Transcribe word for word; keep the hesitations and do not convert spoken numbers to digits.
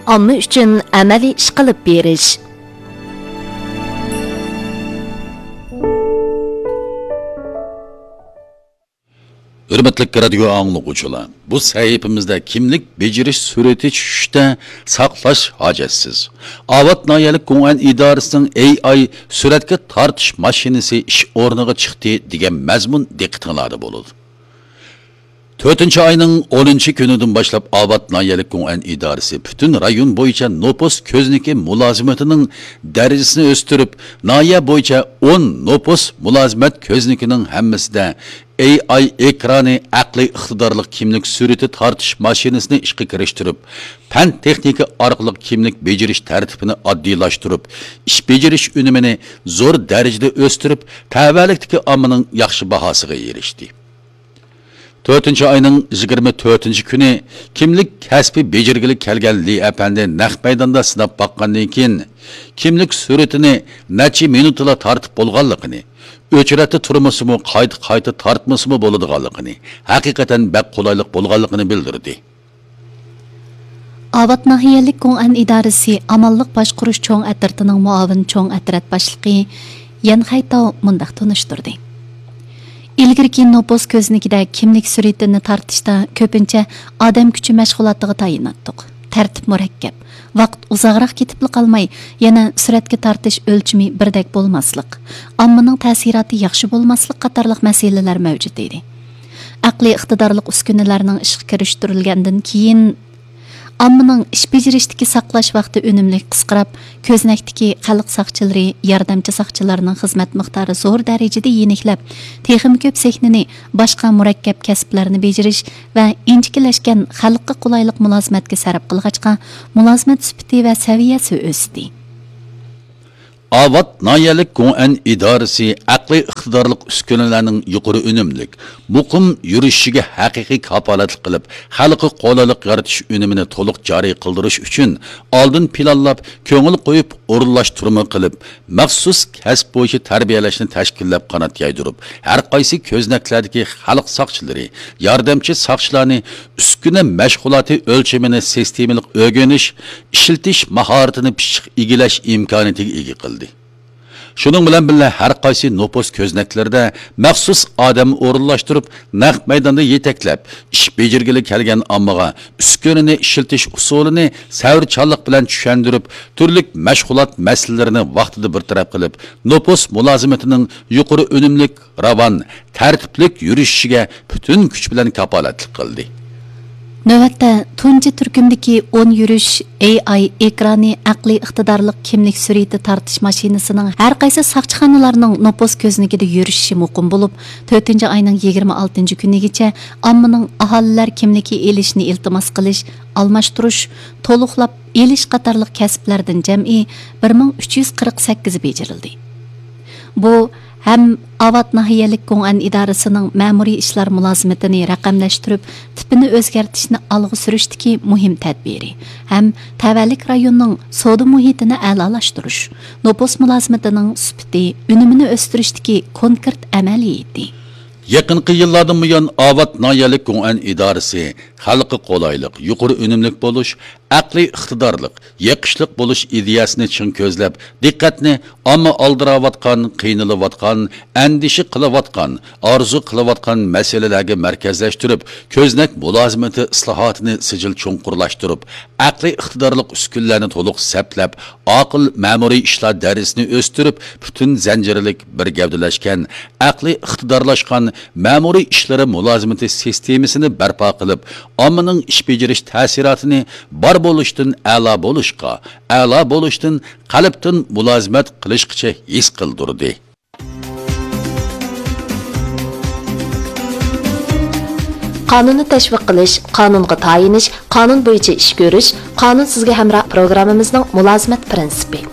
ئامما ئۈچۈن ئەمەلىي ئىش قىلىپ بېرىش. ھۆرمەتلىك رادىيو ئاڭلىغۇچىلار، بۇ سەھىپىمىزدە كىملىك بېجىرىش سۈرئىتى چۈشۈشتە ساقلاش ھاجەتسىز. ئاۋات ناھىيەلىك گوڭئەن ئىدارىسىنىڭ ئېي ئاي سۈرەتكە تارتىش ماشىنىسى ئىش ئورنىغا چىقتى دېگەن مەزمۇن دىققىتىڭلاردا بولىدۇ. تۆتىنچى ئاينىڭ ئونىنچى كۈنىدىن باشلاپ ئاۋات ناھىيەلىك گوڭئەن ئىدارىسى پۈتۈن رايون بويىچە نوپۇس كۆزنىكى مۇلازىمىتىنىڭ دەرىجىسىنى ئۆستۈرۈپ، ناھىيە بويىچە ئون نوپۇس مۇلازىمەت كۆزنىكىنىڭ ھەممىسىدە ئېي ئاي ئېكرانى ئەقلىي ئىقتىدارلىق كىملىك سۈرىتى تارتىش ماشىنىسىنى ئىشقا كىرىشتۈرۈپ، پەن تېخنىكا ئارقىلىق كىملىك بېجىرىش تەرتىپىنى ئاددىيلاشتۇرۇپ، ئىش بېجىرىش ئۈنۈمىنى زور دەرىجىدە ئۆستۈرۈپ، تەۋەلىكتىكى ئاممىنىڭ ياخشى باھاسىغا ئېرىشتى. تۆتىنچى ئاينىڭ يىگىرمە تۆتىنچى كۈنى كىملىك كەسپى بېجىرگىلى كەلگەن لى ئەپەندى نەق مەيداندا سىناپ باققاندىن كېيىن، كىملىك سۈرىتىنى نەچچە مىنۇتلا تارتىپ بولغانلىقىنى، ئۆچرەتتە تۇرمىسىمۇ، قايتا-قايتا تارتمىسىمۇ بولىدىغانلىقىنى، ھەقىقەتەن بەك قولايلىق بولغانلىقىنى بىلدۈردى. ئاۋات ناھىيەلىك گوڭئەن ئىدارىسى ئامانلىق باشقۇرۇش چوڭ ئەترىتىنىڭ مۇئاۋىن چوڭ ئەترەت باشلىقى يەن خەيتاۋ مۇنداق تونۇشتۇردى: ئىلگىرىكى نوپۇس كۆزنىكىدە كىملىك سۈرىتىنى تارتىشتا كۆپىنچە ئادەم كۈچى مەشغۇلاتىغا تايىناتتۇق. تەرتىپ مۇرەككەپ، ۋاقىت ئۇزاقراق كېتىپلا قالماي، يەنە سۈرەتكە تارتىش ئۆلچىمى بىردەك بولماسلىق، ئاممىنىڭ تەسىراتى ياخشى بولماسلىق قاتارلىق مەسىلىلەر مەۋجۇت ئىدى. ئەقلىي ئىقتىدارلىق ئۈسكۈنىلەرنىڭ ئىشقا كىرىشتۈرۈلگەندىن كېيىن، ئاممىنىڭ ئىش بېجىرىشتىكى ساقلاش ۋاقتى ئۈنۈملۈك قىسقىراپ، كۆزنەكتىكى خەلق ساقچىلىرى، ياردەمچى ساقچىلارنىڭ خىزمەت مىقدارى زور دەرىجىدە يېنىكلەپ، تېخىمۇ كۆپ سېھنىنى باشقا مۇرەككەپ كەسىپلەرنى بېجىرىش ۋە ئىنچىكىلەشكەن خەلققە قولايلىق مۇلازىمەتكە سەرپ قىلغاچقا، مۇلازىمەت سۈپىتى ۋە سەۋىيەسى ئۆستى. ئاۋات ناھىيەلىك گوڭئەن ئىدارىسى ئەقلىي ئىقتىدارلىق ئۈسكۈنىلەرنىڭ يۇقىرى ئۈنۈملۈك، مۇقىم يۈرۈشۈشىگە ھەقىقىي كاپالەتلىك قىلىپ، خەلققە قولايلىق يارىتىش ئۈنۈمىنى تولۇق جارى قىلدۇرۇش ئۈچۈن ئالدىن پىلانلاپ، كۆڭۈل قويۇپ ئورۇنلاشتۇرما قىلىپ، مەخسۇس كەسىپ بويىچە تەربىيەلەشنى تەشكىللەپ قانات يايدۇرۇپ، ھەر قايسى كۆزنەكلەردىكى خەلق ساقچىلىرى، ياردەمچى ساقچىلارنى ئۈسكۈنە مەشغۇلاتى ئۆلچىمىنى سىستېمىلىق ئۆگىنىش، ئىشلىتىش ماھارىتىنى پىششىق ئىگىلەش ئىمكانىيىتىگە ئىگە قىلدى. شۇنىڭ بىلەن بىللە، ھەر قايسى نوپۇس كۆزنەكلىرىدە مەخسۇس ئادەم ئورۇنلاشتۇرۇپ، نەق مەيداندا يېتەكلەپ، ئىش بېجىرگىلى كەلگەن ئاممىغا ئۈسكۈنىنى ئىشلىتىش ئۇسۇلىنى سەۋرچانلىق بىلەن چۈشەندۈرۈپ، تۈرلۈك مەشغۇلات مەسىلىلىرىنى ۋاقتىدا بىر تەرەپ قىلىپ، نوپۇس مۇلازىمىتىنىڭ يۇقىرى ئۈنۈملۈك، راۋان، تەرتىپلىك يۈرۈشۈشىگە پۈتۈن كۈچ بىلەن كاپالەتلىك قىلدى. نۆۋەتتە، تۇنجى تۈركۈمدىكى ئون يۈرۈش ئېي ئاي ئېكرانى ئەقلىي ئىقتىدارلىق كىملىك سۈرىتى تارتىش ماشىنىسىنىڭ ھەر قايسى ساقچىخانىلارنىڭ نوپۇس كۆزنىكىدە يۈرۈشۈشى مۇقىم بولۇپ، تۆتىنچى ئاينىڭ يىگىرمە ئالتىنچى كۈنىگىچە ئاممىنىڭ ئاھالىلەر كىملىكى ئېلىشنى ئىلتىماس قىلىش، ئالماشتۇرۇش، تولۇقلاپ ئېلىش قاتارلىق كەسىپلەردىن جەمئىي بىر مىڭ ئۈچ يۈز قىرىق سەككىز بېجىرىلدى. بۇ ھەم ئاۋات ناھىيەلىك گوڭئەن ئىدارىسىنىڭ مەمۇرىي ئىشلار مۇلازىمىتىنى رەقەملەشتۈرۈپ، تىپىنى ئۆزگەرتىشنى ئالغا سۈرۈشتىكى مۇھىم تەدبىرى، ھەم تەۋەلىك رايوننىڭ سودا مۇھىتىنى ئەلالاشتۇرۇش، نوپۇس مۇلازىمىتىنىڭ سۈپىتى، ئۈنۈمىنى ئۆستۈرۈشتىكى كونكرېت ئەمەلىيىتى. يېقىنقى يىللاردىن بۇيان، ئاۋات ناھىيەلىك گوڭئەن ئىدارىسى خەلققە قولايلىق، يۇقىرى ئۈنۈملۈك بولۇش، ئەقلىي ئىقتىدارلىق، يېقىشلىق بولۇش ئىدىيەسىنى چىڭ كۆزلەپ، دىققەتنى ئامما ئالدىراۋاتقان، قىينىلىۋاتقان، ئەندىشە قىلىۋاتقان، ئارزۇ قىلىۋاتقان مەسىلىلەرگە مەركەزلەشتۈرۈپ، كۆزنەك مۇلازىمىتى ئىسلاھاتىنى سىجىل چوڭقۇرلاشتۇرۇپ، ئەقلىي ئىقتىدارلىق ئۈسكۈنىلەرنى تولۇق سەپلەپ، ئاقىل مەمۇرىي ئىشلار دەرىجىسىنى ئۆستۈرۈپ، پۈتۈن زەنجىرلىك بىر گەۋدىلەشكەن، ئەقلىي ئىقتىدارلاشقان مەمۇرىي ئىشلىرى مۇلازىمىتى سىستېمىسىنى بەرپا قىلىپ، ئاممىنىڭ ئىش بېجىرىش تەسىراتىنى بار بولۇشتىن ئەلا بولۇشقا، ئەلا بولۇشتىن قەلبتىن مۇلازىمەت قىلىشقىچە ھېس قىلدۇردى. قانۇننى تەشۋىق قىلىش، قانۇنغا تايىنىش، قانۇن بويىچە ئىش كۆرۈش، قانۇن سىزگە ھەمراھ پروگراممىمىزنىڭ مۇلازىمەت پىرىنسىپى.